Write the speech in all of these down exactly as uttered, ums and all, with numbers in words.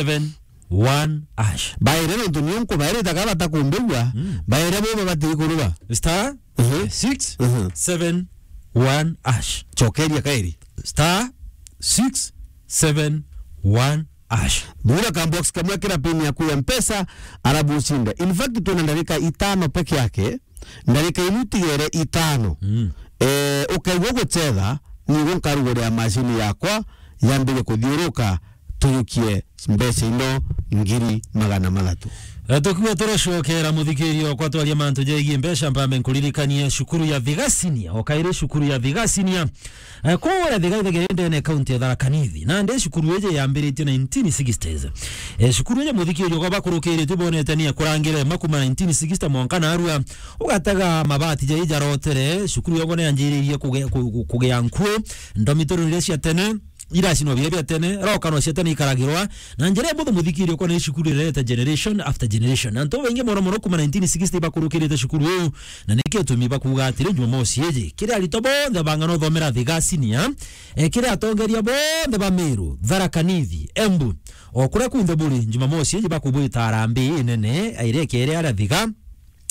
seven one hash. Baire nontu nio nkubairite ka batakumbigua, mm, baire bo babati kurua. Star, mhm, six seven one hash. Chokeria kairi. Star six seven one hash. Thura ka box kamwe, kira pin yaku ya Mpesa, arabu ucinde. In fact, twina ndarika itano peke yake, ndarika ilu tigere itano. Mm. Eh, ukaigua guchetha, nigu nkaruguria mashini yakwa, yambire kuthiuruka, tuyukie mbeca ino ngiri magana mathatu. Eh, tukiuga turacokera, muthikiria okwa, twaria mantu jegie mbeca, mpambe nkuririkanie cukuru ya Thiga Senior, o kairi cukuru ya Thiga Senior. Eh, kuria Thiga ithegere ndene kaunti ya Tharaka Nithi. Nandi cukuru iji yambiritie nineteen sixties. Eh, cukuru iji, muthikiria okwa, bakurukiritie bonete ni akurangire makuma nineteen sixty mwanka narua. Ugatega mabati jai jarotere, cukuru yongo ni yanjiririe kuge-, ku-, ku-, kugea nkuu, ndomitoro iria cia tene, iracinwa biria bia tene, rokano cia tene ikaragirwa, na njira imbuthu, muthikiria okwa, ni cukuru irerete generation after generation. Na antu baingi mono mono kuma nineteen sixty bakurukirite cukuru iu, na niki gitumi bakuuga atiri, Jumamosi iji, kiri aritwa bonthe bang'ana uthomera Thiga Senior, eh, kiri atongeria bonthe ba Meru, Tharaka Nithi, Embu, o kuria kunthe buri, Jumamosi iji bakubwita harambee inene, iria ikere aria Thiga,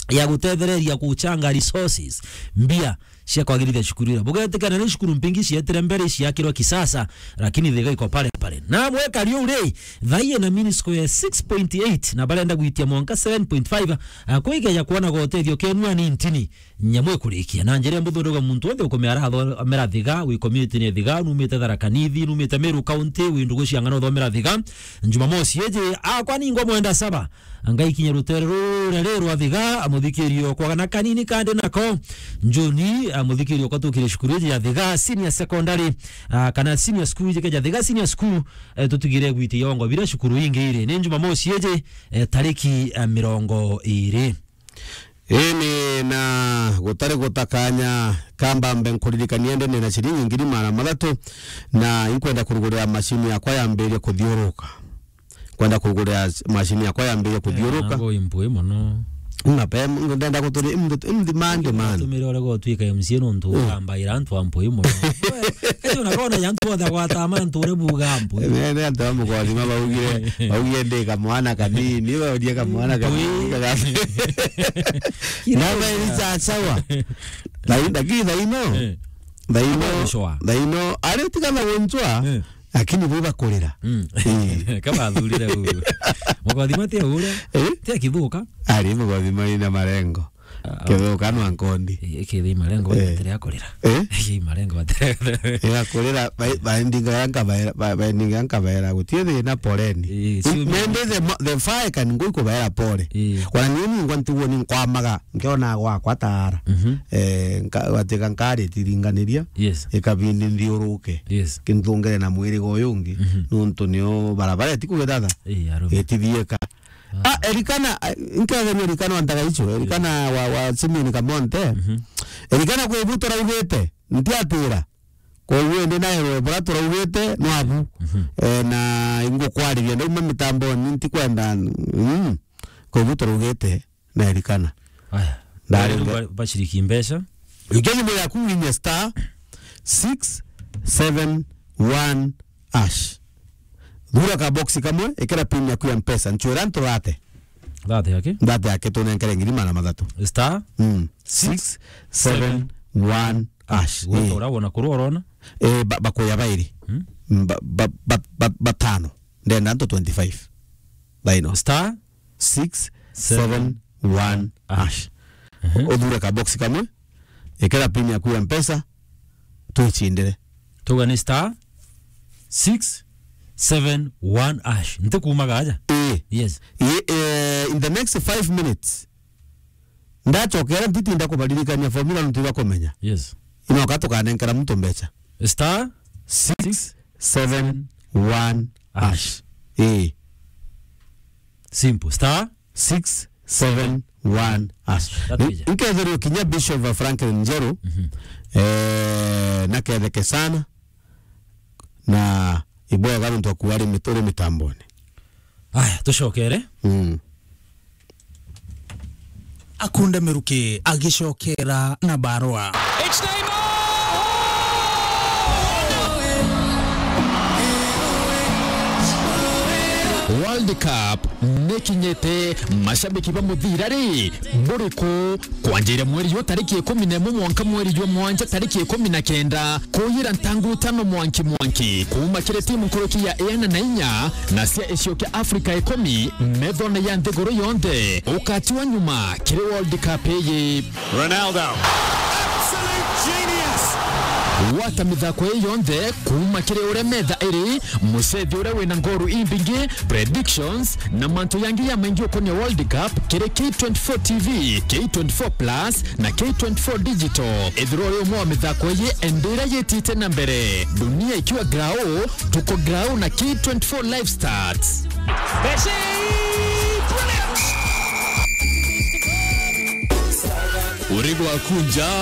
ya gutethereria guchanga resources, mbia cia kwagirithia cukuru ira. Bugetikana ni cukuru mpingi cietire mbere ciakirwa kisasa, lakini Thiga iko pale pale. Na mwekari uu ri, thaie na mean square six point eight, na barenda gwitia mwanka seven point five, a, kwigeja kwona gotethio kenu anintini, nyamu ikurikia. Na njira imbuthu ndauga muntu wonthe ukumea arathomera Thiga, wi community ni Thiga, numite Tharaka Nithi, numite Meru County, wi ndugu cia ng'ana uthomera Thiga, Jumamosi iji, akwa ningwa mwenda saba, Ngai kinya rutere ruria ri rwa Thiga, amuthikirio kwa na kanini kandi nako. Njuni, amuthikirio kwa tukire cukuru iji ya Thiga Senior Secondary, ah, kana Senior School iji keja Thiga Senior School, eh, tutigire gwiti yongo bira cukuru ingi iri. Ni Jumamosi iji, eh, tariki, eh, mirongo iri. Ini na gutari gutakanya kamba mbe nkuririkania ndene na ciringi ngiri magana mathatu, na inkwenda kurugurira mashini yakwa yambirie kuthiuruka. Kwenda kugura mashini yakwa yambirie kuthiuruka. Nangu impui mono. Mapema, ndenda kuturi, imdi-, imdi-, mande, man. Tumire ore gotwika M C A nontu, mm, ugambaira antu a mpui mono. Kacio na kona ya antu othe gwata mantu ore buga mpui. Ne, ne antu a mukothima baugire, baugire ndi kamwana kanini, baugire kamwana kanini. Mpui. Kira. Na ba iri cha sawa. Lakini thaino. Eh. Thaino. Aba gushoa. Thaino. Ari tiga na gunchwa. Eh. Lakini bwi bakurira. Mm. Ii. Kama athurire uu. Mukothima ti aure. Eh? Ti akithuka. Ari mukothima ina marengo. Ah, kithuka no ankondi. Eh, kithi marengo, eh, batire akurira. Eh? Ii marengo batire. Igakurira, ba-, baendinga yanka baera, ba-, baendinga yanka baera, gutie thina poleni. Eh, sio. Nende the mo-, the fire can go iko baera pole. Eh. Kwa nini ngwa ntugo ni nkwamaga, nkiona gwakwa taara. Mhm. Eh, nka-, gatiga nkari tiringaniria. Yes. Ikabindi nthiuruke. Yes. Kintungere na mwirigo uyu ungi, mhm, nontu nio barabara itiku githatha. Ii, arume. Itithieka. Ah. Ah, Elikana, ah, nkethania Elikana wa Ntagaicho, Elikana wa, wa Simeon Kamonte. Mhm. Elikana kwi bu turaugite, ntiatira. Koguo ndi nawe bura turaugite, no abu. Mhm. Eh, na ingukwariria, ndauma mitamboni, ntikwenda, mm. Kwi bu turaugite, na Elikana. Aya. Ndarenga. Ba-, bashiriki mbeca. Ikia thimu yaku winye star six seven one hash. Thura ka box kamwe, ikira pin yaku ya Mpesa. Nchwira nturate. Thate yake? Thate yake tunenkere ngiri magana mathatu. Star? Mm. Six seven one hash. Gwata, eh, ura wona kuru urona? Eh, ba-, bakuya bairi. Hmm? Mm, ba-, ba-, ba-, ba-, batano. Ndenda antu twenty-five. Thaino. Star? Six seven one hash. Mhm. Uthure ka box kamwe, ikira pin yaku ya Mpesa, twichindire. Tuga ni star six seven one hash. Nti kuumaga aja? Ii. Yes. Ii, eh, in the next five minutes, ndachokera ntitinda kubaririkania formula nontu ibakumenya. Yes. Inoka tukanenkera muntu mbecha. Star six seven one hash. Ii. Simple. Star six seven one hash. That is it. Nkethirwe kinya Bishop Franklin Njeru, mhm, eh, naketheke sana, na ibwega nontu akuari mituri mitamboni. Aya, tucokere. Mm. Akunde Miruki agicokera na barua. It's Neymar! World Cup nikinyite, mashabiki ba muthira ri, buriku? Kwanjira mweri yu tariki ikumi na imwe mwanka mweri jwa mwanja tariki ikumi na kenda, kuyira ntangu itano mwanki mwanki, kuuma kiri timu nkuruki ya iana na inya na cia icio kia Afrika ikumi, methone ya nthiguru yonthe, ukatiwa nyuma kiri World Cup iyi. Ronaldo. Absolute genius. Gwata mithako ii yonthe kuuma kiri uria metha iri, mucethi uria wina ngoru imbingi, predictions, na mantu yangi ya maingi ukonia World Cup kiri K twenty-four T V, K twenty-four Plus, na K twenty-four Digital. Ethirwa uri umwe wa mithako iyi, endira yitite na mbere. Dunia ikiwa grau, tuko grau na K twenty-four Live Stats. Messi! Brilliant! Urigo wa kunja.